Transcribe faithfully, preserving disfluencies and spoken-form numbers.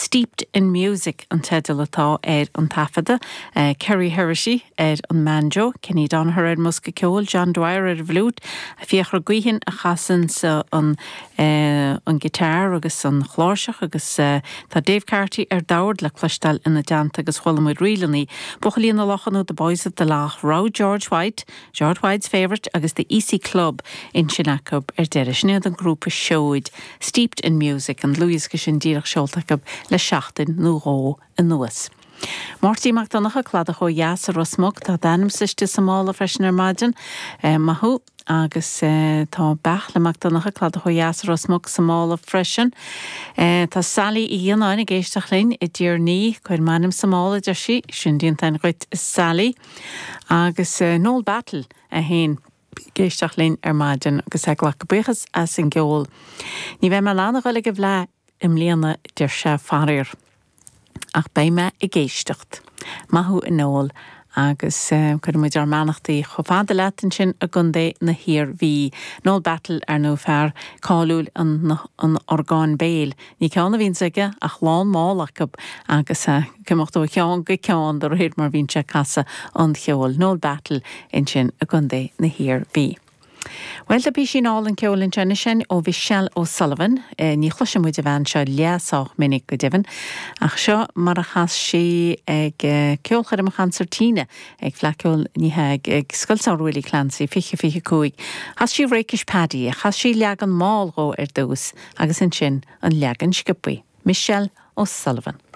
Steeped in Music an teideal atá ar an taifeadadh, uh, Kerry Heresy ar an mbanjo, Kenny Donaher ar an mbosca ceoil, John Dwyer ar an bhfliúit, Fiachra Guihin a chasann sa an, uh, an guitar agus an chláirseach agus uh, tá Dave Carty ar dord le cloisteáil ina dteannta agus chuala muid ríleanna. Buachaillí na Locha nó The Boys of the Lough, Row George White, George White's favourite agus the Easy Club ansin acu ar deireadh sin an grúpa Seoid, Steeped in Music an dlúthdhiosca sin díreach seolta acu le seachtain nó dhó anuas. Máirtín Mac Donncha Cladach ó dheas i Ros Muc tá d'ainm istigh sa mála freisin ar maidin eh, maith thú agus eh, tá Beairtle Mac Donncha Cladach ó dheas i Ros Muc sa mála freisin. Eh, tá Sally Uí Fhionnáin ag éisteacht linn i dTír Ní cuir m'ainm sa mála deir sí sin déanta dhuit Sally agus eh, Noel Battle a haon ag éisteacht linn ar maidin agus ag glacadh buíochas as an gceol. Ní bheidh mé in ann a dhul ag an bhFleadh i mbliana deir sé faraor. Ach beidh mé ag éisteacht. Maith thú a Noel agus uh, cuirimid ár mbeannachtaí chomh fada leat ansin i gContae na hIarmhí. Noel Battle ar nó fear cáiliúil an, an orgán béil. Ní ceann a bhíonn aige ach lán mála acu agus uh, cumacht ó cheann go ceann de réir mar bhíonn sé ag casadh an cheoil Noel Battle ansin i gContae na hIarmhí. Well tá píosa álainn ceoil ansin sin ó Michelle O'Sullivan, e, ní chloiseann muid an bhean seo le sách minic go deimhin, ach seo mar a chas sí ag eh, ceolchoirm concertina ag Fleadh Cheoil ní ag ag Scoil Willie Clancy fiche fiche cúig. Chas sí Rakish Paddy, chas sí leagan mall dhó ar dtús agus ansin an leagan sciobtha. Michelle O'Sullivan.